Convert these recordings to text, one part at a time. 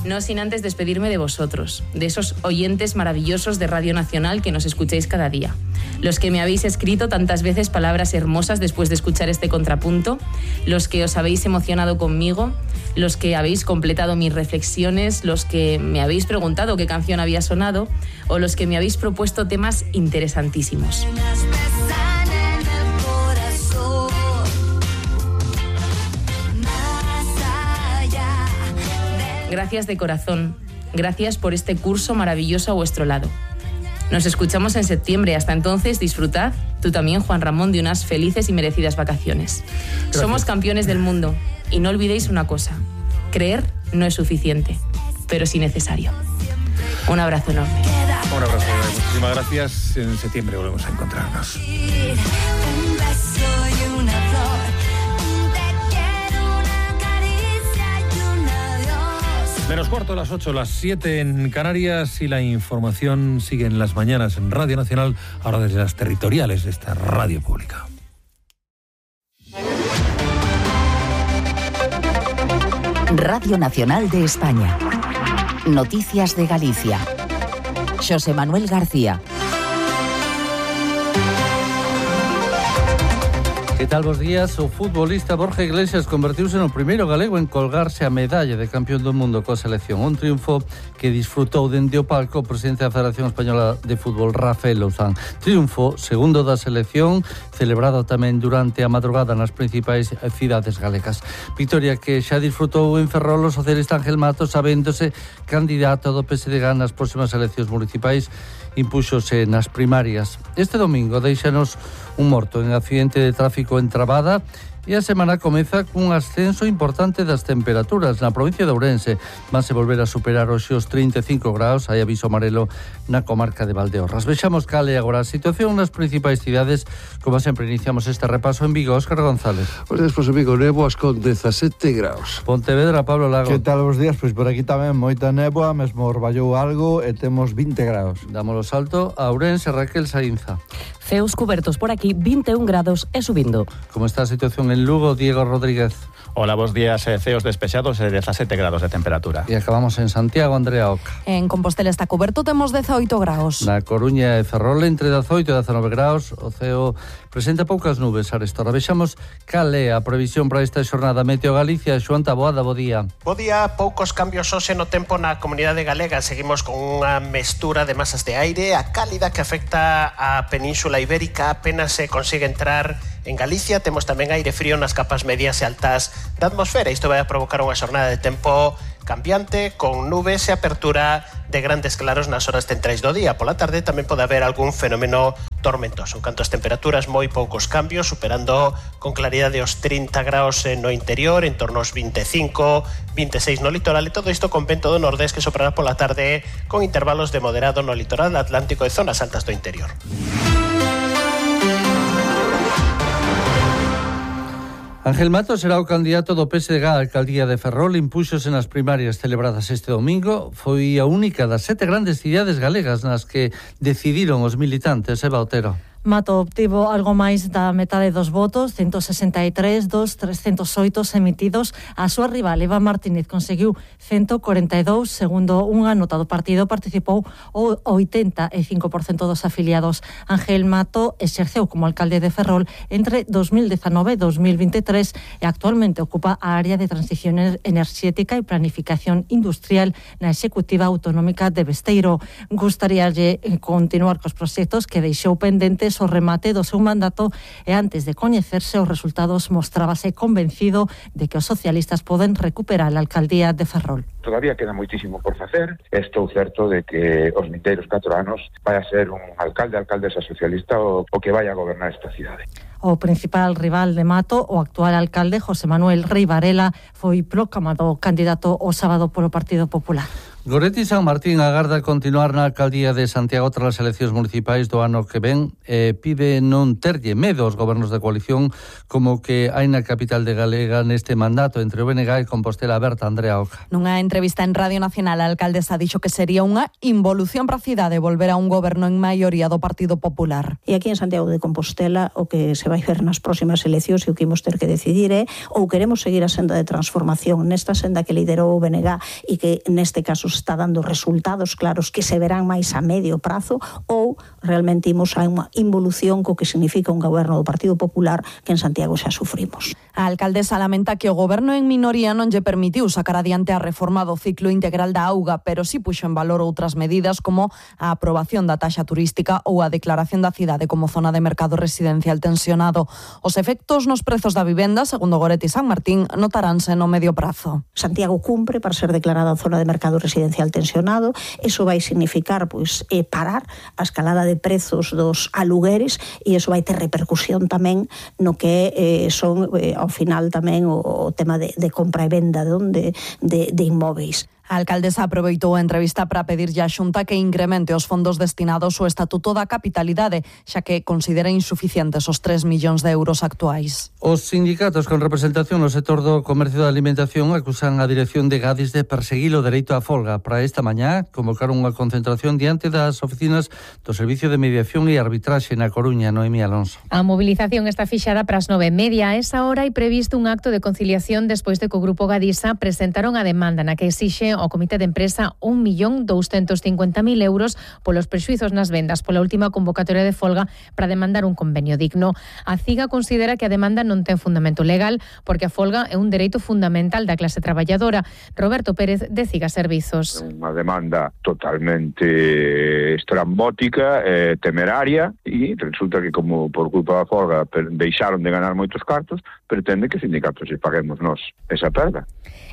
No sin antes despedirme de vosotros, de esos oyentes maravillosos de Radio Nacional que nos escucháis cada día. Los que me habéis escrito tantas veces palabras hermosas después de escuchar este contrapunto, los que os habéis emocionado conmigo, los que habéis completado mis reflexiones, los que me habéis preguntado qué canción había sonado o los que me habéis propuesto temas interesantísimos. Gracias de corazón. Gracias por este curso maravilloso a vuestro lado. Nos escuchamos en septiembre. Hasta entonces, disfrutad, tú también, Juan Ramón, de unas felices y merecidas vacaciones. Gracias. Somos campeones del mundo. Y no olvidéis una cosa. Creer no es suficiente, pero sí necesario. Un abrazo enorme. Un abrazo. Muchísimas gracias. En septiembre volvemos a encontrarnos. Menos cuarto, las 8, las 7 en Canarias, y la información sigue en las mañanas en Radio Nacional, ahora desde las territoriales de esta radio pública. Radio Nacional de España. Noticias de Galicia. Xosé Manuel García. Que tal, bos días? O futbolista Borja Iglesias convertiuse no primeiro galego en colgarse a medalla de campeón do mundo coa selección. Un triunfo que disfrutou dende o palco o presidente da Federación Española de Fútbol, Rafael Louzán. Triunfo segundo da selección, celebrado tamén durante a madrugada nas principais cidades galegas. Victoria que xa disfrutou en Ferrol o socialista Ángel Matos, sabéndose candidato do PSDG nas próximas eleccións municipais, impúxose nas primarias. Este domingo deixanos un morto en accidente de tráfico en Trabada e a semana comeza cun ascenso importante das temperaturas. Na provincia de Ourense vanse volver a superar hoxe os 35 graus, hai aviso amarelo na comarca de Valdeorras. Vexamos cal é agora a situación nas principais cidades. Como sempre, iniciamos este repaso en Vigo. Óscar González. Bos días, pois en Vigo, néboas con 17 graus. Pontevedra, Pablo Lago. Que tal, bos días? Pois por aquí tamén moita néboa, mesmo orballou algo e temos 20 graus. Dámolo salto a Ourense, Raquel Saínza. Ceos cubertos por aquí, 21 grados e subindo. Como está a situación en Lugo, Diego Rodríguez? Hola, bos días. Ceos despexados e 17 grados de temperatura. E acabamos en Santiago, Andrea Oca. En Compostela está coberto, temos 18 graus. Na Coruña e Ferrol entre 18 e 19 graus. O ceo presenta poucas nubes a restora. Vexamos cal é a previsión para esta xornada. Meteo Galicia, Xoán Taboada, bo día. Bo día, poucos cambios hoxe no tempo na comunidade galega. Seguimos con unha mestura de masas de aire. A cálida que afecta a Península Ibérica apenas se consigue entrar en Galicia. Temos tamén aire frío nas capas medias e altas da atmosfera. Isto vai a provocar unha xornada de tempo cambiante, con nubes e apertura de grandes claros nas horas centrais do día. Pola tarde tamén pode haber algún fenómeno tormentoso. En canto ás temperaturas, moi poucos cambios, superando con claridade os 30 graus no interior, en torno aos 25, 26 no litoral, e todo isto con vento do nordés que soprará pola tarde con intervalos de moderado no litoral atlántico e zonas altas do interior. Ángel Matos será o candidato do PSDG á alcaldía de Ferrol. Impúxose nas primarias celebradas este domingo. Foi a única das 7 grandes cidades galegas nas que decidiron os militantes. Eva Otero. Mato obtivo algo máis da metade dos votos, 163 dos 308 emitidos. A súa rival, Eva Martínez, conseguiu 142, segundo unha nota do partido. Participou o 85% dos afiliados. Ángel Mato exerceu como alcalde de Ferrol entre 2019 e 2023 e actualmente ocupa a área de transición enerxética e planificación industrial na Executiva Autonómica de Besteiro. Gustaríalle continuar cos proxectos que deixou pendentes o remate do seu mandato, e antes de coñecerse os resultados mostrábase convencido de que os socialistas poden recuperar a alcaldía de Ferrol. Todavía queda moitísimo por facer. Estou certo de que os vindeiros 4 anos vai a ser un alcaldesa socialista o que vai a gobernar esta cidade. O principal rival de Mato, o actual alcalde José Manuel Rei Varela, foi proclamado candidato o sábado polo Partido Popular. Goretti San Martín agarda continuar na alcaldía de Santiago tras as eleccións municipais do ano que ven. Pide non terlle medo aos gobernos de coalición como que hai na capital de Galega neste mandato entre o BNG e Compostela Aberta. Andrea Oca. Nunha entrevista en Radio Nacional, a alcaldesa dixo que sería unha involución para a cidade volver a un goberno en maioría do Partido Popular. E aquí en Santiago de Compostela o que se vai ver nas próximas eleccións e o que imos ter que decidir é ou queremos seguir a senda de transformación nesta senda que liderou o BNG e que neste caso está dando resultados claros que se verán máis a medio prazo, ou realmente imos a unha involución co que significa un goberno do Partido Popular que en Santiago xa sufrimos. A alcaldesa lamenta que o goberno en minoría non lle permitiu sacar adiante a reforma do ciclo integral da auga, pero si puxo en valor outras medidas como a aprobación da taxa turística ou a declaración da cidade como zona de mercado residencial tensionado. Os efectos nos prezos da vivenda, segundo Goretti San Martín, notaránse no medio prazo. Santiago cumpre para ser declarada zona de mercado residencial tensionado. Eso vai significar parar a escalada de prezos dos alugueres e eso vai ter repercusión tamén no que son ao final tamén o tema de compra e venda de inmóveis. A alcaldesa aproveitou a entrevista para pedirlle á Xunta que incremente os fondos destinados ao Estatuto da Capitalidade, xa que considera insuficientes os 3 millóns de euros actuais. Os sindicatos con representación no sector do comercio da alimentación acusan a dirección de Gadis de perseguir o dereito á folga. Para esta mañá convocaron unha concentración diante das oficinas do Servicio de Mediación e Arbitraxe na Coruña. Noemí Alonso. A mobilización está fixada para as 9:30. A esa hora hai previsto un acto de conciliación despois de que o Grupo Gadisa presentaron a demanda na que exixe ao Comité de Empresa 1.250.000 euros polos prexuizos nas vendas pola última convocatoria de folga para demandar un convenio digno. A CIGA considera que a demanda non ten fundamento legal porque a folga é un dereito fundamental da clase traballadora. Roberto Pérez, de CIGA Servizos. Unha demanda totalmente estrambótica, temeraria, e resulta que como por culpa da folga deixaron de ganar moitos cartos, pretende que os sindicatos se paguemos nós esa perda.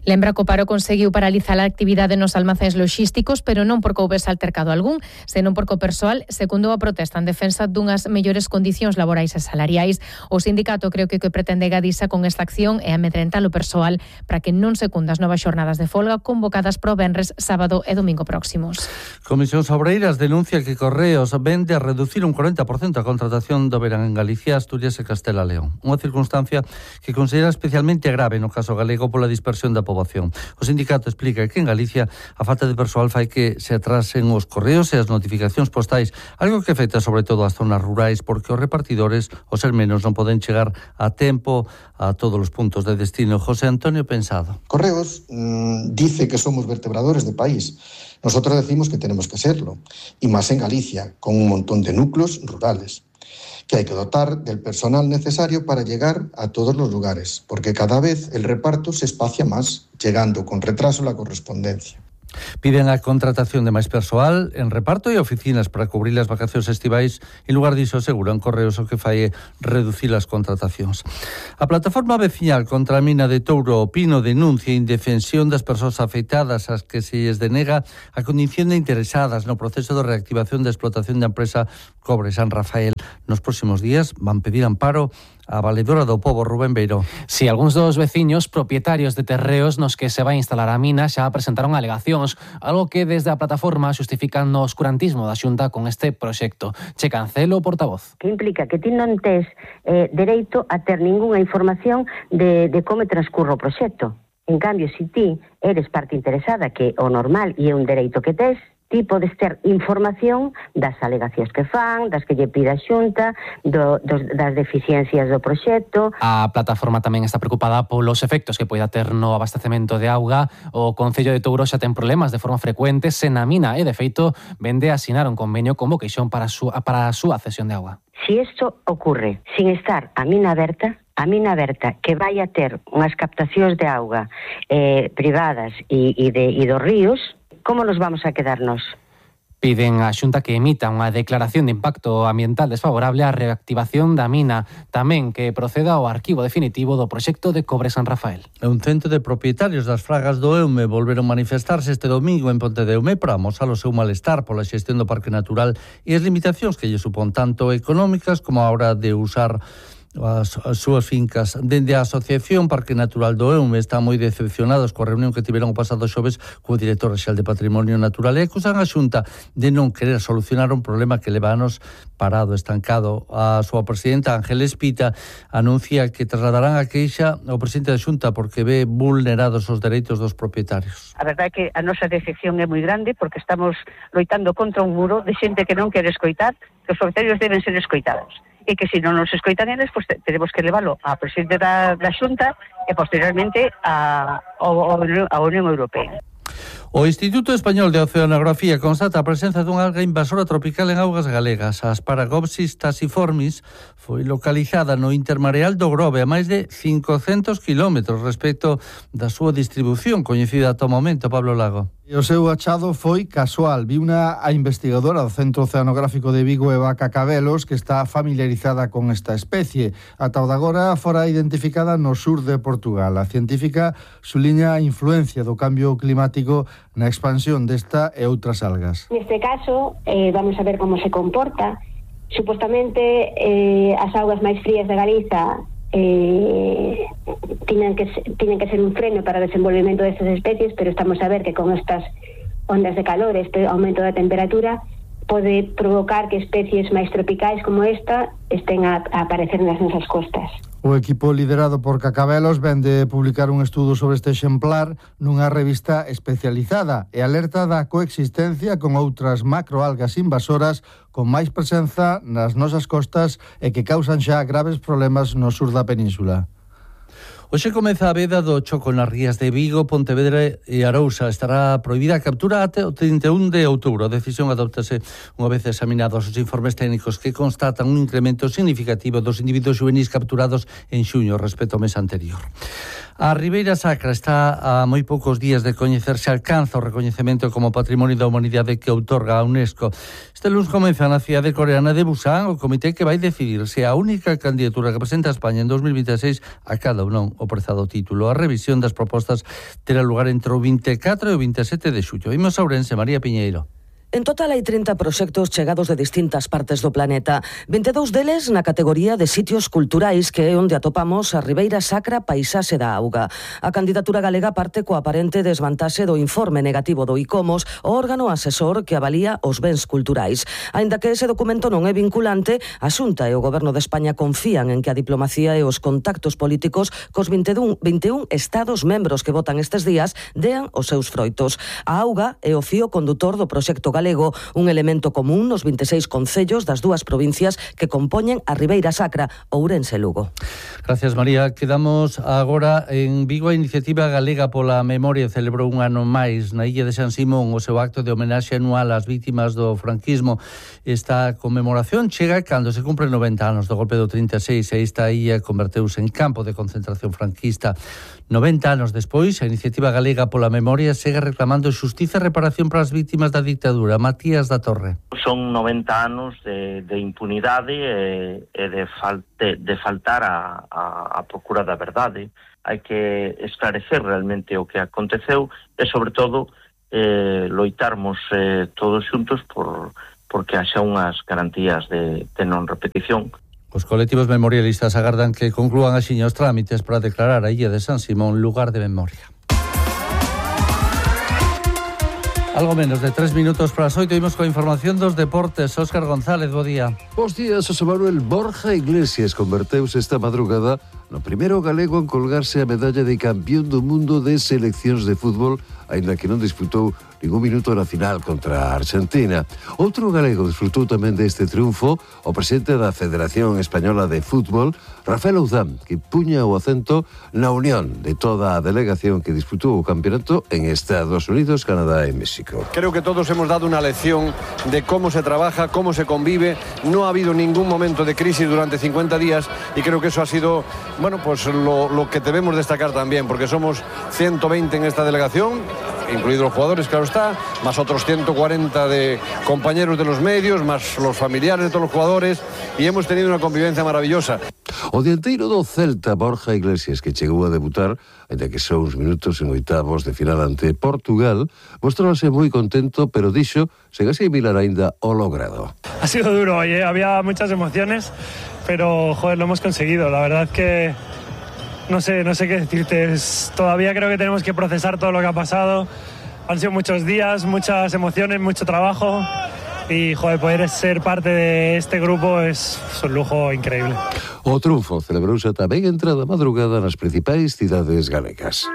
Lembra que o paro conseguiu paralizar a actividade nos almacéns loxísticos, pero non porque houbese altercado algún, senón porque o persoal secundou a protesta en defensa dunhas mellores condicións laborais e salariais. O sindicato creo que o que pretende Gadisa con esta acción é amedrentar o persoal para que non secunda as novas xornadas de folga convocadas pro venres, sábado e domingo próximos. Comisións Obreiras denuncia que Correos vende a reducir un 40% a contratación do verán en Galicia, Asturias e Castela e León. Unha circunstancia que considera especialmente grave no caso galego pola dispersión da poboación. O sindicato explica que en Galicia a falta de persoal fai que se atrasen os correos e as notificacións postais, algo que afecta sobre todo as zonas rurais porque os repartidores, ao ser menos, non poden chegar a tempo a todos os puntos de destino. José Antonio Pensado. Correos dice que somos vertebradores de país. Nosotros decimos que tenemos que serlo, y más en Galicia, con un montón de núcleos rurales, que hay que dotar del personal necesario para llegar a todos los lugares, porque cada vez el reparto se espacia más, llegando con retraso la correspondencia. Piden a contratación de máis persoal en reparto e oficinas para cubrir as vacacións estivais. En lugar diso, aseguran Correos o que fai é reducir as contratacións. A plataforma veciñal contra a mina de Touro Pino denuncia a indefensión das persoas afectadas ás que se lles denega a condición de interesadas no proceso de reactivación da explotación da empresa Cobre San Rafael. Nos próximos días van pedir amparo a valedora do pobo, Rubén Beiró. Si, algúns dos veciños propietarios de terreos nos que se vai instalar a mina xa presentaron alegacións, algo que desde a plataforma xustifican no oscurantismo da Xunta con este proxecto. Che Cancelo, portavoz. Que implica que ti non tes dereito a ter ningunha información de como transcurre o proxecto. En cambio, se ti eres parte interesada, que o normal e é un dereito que tes, ti podes ter información das alegacións que fan, das que lle pide a Xunta, das deficiencias do proxecto. A plataforma tamén está preocupada polos efectos que poida ter no abastecemento de auga. O Concello de Touro xa ten problemas de forma frecuente sen a mina e, de feito, vende a asinar un convenio con Voqueixón para a súa cesión de auga. Si isto ocurre sin estar a mina aberta que vai a ter unhas captacións de auga privadas e dos ríos, como nos vamos a quedarnos? Piden á Xunta que emita unha declaración de impacto ambiental desfavorable á reactivación da mina, tamén que proceda ao arquivo definitivo do proxecto de Cobre San Rafael. Un cento de propietarios das fragas do Eume volveron manifestarse este domingo en Ponte de Eume para amosar o seu malestar pola xestión do Parque Natural e as limitacións que lle supón tanto económicas como a hora de usar as súas fincas. Dende a Asociación Parque Natural do Eume están moi decepcionados coa reunión que tiveron o pasado xoves co director rexal de Patrimonio Natural e acusan a Xunta de non querer solucionar un problema que leva anos parado, estancado. A súa presidenta Ángeles Pita anuncia que trasladarán a queixa ao presidente da Xunta porque ve vulnerados os dereitos dos propietarios. A verdade é que a nosa decepción é moi grande porque estamos loitando contra un muro de xente que non quere escoitar, que os propietarios deben ser escoitados. E que se non nos escoitan eles, pues tenemos que leválo ao presidente da Xunta e posteriormente a Unión Europea. O Instituto Español de Oceanografía constata a presenza dunha alga invasora tropical en augas galegas. A Asparagopsis taxiformis foi localizada no intermareal do Grove a máis de 500 kilómetros respecto da súa distribución coñecida ata o momento, Pablo Lago. E o seu achado foi casual. Viuna a investigadora do Centro Oceanográfico de Vigo, Eva Cacabelos, que está familiarizada con esta especie. Ata o de agora fora identificada no sur de Portugal. A científica suliña a influencia do cambio climático na expansión desta e outras algas. Neste caso, vamos a ver como se comporta. Supostamente, as augas máis frías de Galiza tienen que ser un freno para o desenvolvemento destas especies, pero estamos a ver que con estas ondas de calor, este aumento da temperatura, pode provocar que especies máis tropicais como esta estén a aparecer nas nosas costas. O equipo liderado por Cacabelos ven de publicar un estudo sobre este exemplar nunha revista especializada e alerta da coexistencia con outras macroalgas invasoras con máis presenza nas nosas costas e que causan xa graves problemas no sur da península. Hoxe comeza a veda do choco nas rías de Vigo, Pontevedra e Arousa. Estará prohibida a captura até o 31 de outubro. A decisión adoptase unha vez examinados os informes técnicos que constatan un incremento significativo dos individuos juvenis capturados en xuño respecto ao mes anterior. A Ribeira Sacra está a moi poucos días de coñecerse, alcanza o recoñecemento como Patrimonio da Humanidade que outorga a UNESCO. Este lunes comeza na cidade coreana de Busan o comité que vai decidir se a única candidatura que presenta a España en 2026 acada ou non o prezado título. A revisión das propostas terá lugar entre o 24 e o 27 de xullo. Imos a Ourense, María Piñeiro. En total hai 30 proxectos chegados de distintas partes do planeta. 22 deles na categoría de sitios culturais, que é onde atopamos a Ribeira Sacra Paisaxe da Auga. A candidatura galega parte coa aparente desvantaxe do informe negativo do ICOMOS, o órgano asesor que avalía os bens culturais. Aínda que ese documento non é vinculante, a Xunta e o Goberno de España confían en que a diplomacía e os contactos políticos cos 21 estados membros que votan estes días dean os seus froitos. A auga é o fío condutor do proxecto galego, un elemento común nos 26 concellos das dúas provincias que compoñen a Ribeira Sacra, Ourense e Lugo. Gracias, María. Quedamos agora en Vigo. A Iniciativa Galega pola Memoria celebrou un ano máis na illa de San Simón o seu acto de homenaxe anual ás vítimas do franquismo. Esta conmemoración chega cando se cumpren 90 anos do golpe do 36 e esta illa converteuse en campo de concentración franquista. 90 anos despois, a Iniciativa Galega pola Memoria segue reclamando xustiza e reparación para as vítimas da dictadura. Matías da Torre. Son 90 anos de impunidade e de faltar a procura da verdade. Hai que esclarecer realmente o que aconteceu e, sobre todo, loitarmos todos xuntos porque haxa unhas garantías de non repetición. Os colectivos memorialistas agardan que conclúan axiña os trámites para declarar a illa de San Simón lugar de memoria. Algo menos de 3 minutos para as 8, imos coa información dos deportes. Óscar González, bo día. Bos días, José Manuel. Borja Iglesias converteuse esta madrugada no primeiro galego en colgarse a medalla de campeón do mundo de seleccións de fútbol, aínda que non disputou ningún minuto na final contra a Argentina. Outro galego disfrutou tamén deste triunfo, o presidente da Federación Española de Fútbol, Rafael Ouzán, que puña o acento na unión de toda a delegación que disputou o campeonato en Estados Unidos, Canadá e México. Creo que todos hemos dado una lección de cómo se trabaja, cómo se convive. No ha habido ningún momento de crisis durante 50 días y creo que eso ha sido, bueno, pues lo que debemos destacar también, porque somos 120 en esta delegación, incluidos los jugadores, claro está, más otros 140 de compañeros de los medios, más los familiares de todos los jugadores, y hemos tenido una convivencia maravillosa. O dianteiro do Celta, Borja Iglesias, que chegou a debutar, ainda que só uns minutos en oitavos de final ante Portugal, mostrábase moi contento, pero dixo sen asimilar aínda o logrado. Ha sido duro hoy, había muchas emociones, pero joder, lo hemos conseguido. La verdad que no sé qué decirte. Todavía creo que tenemos que procesar todo lo que ha pasado. Han sido muchos días, muchas emociones, mucho trabajo. Y, joder, poder ser parte de este grupo es un lujo increíble. O triunfo celebrouse tamén entrada madrugada nas principais cidades galegas.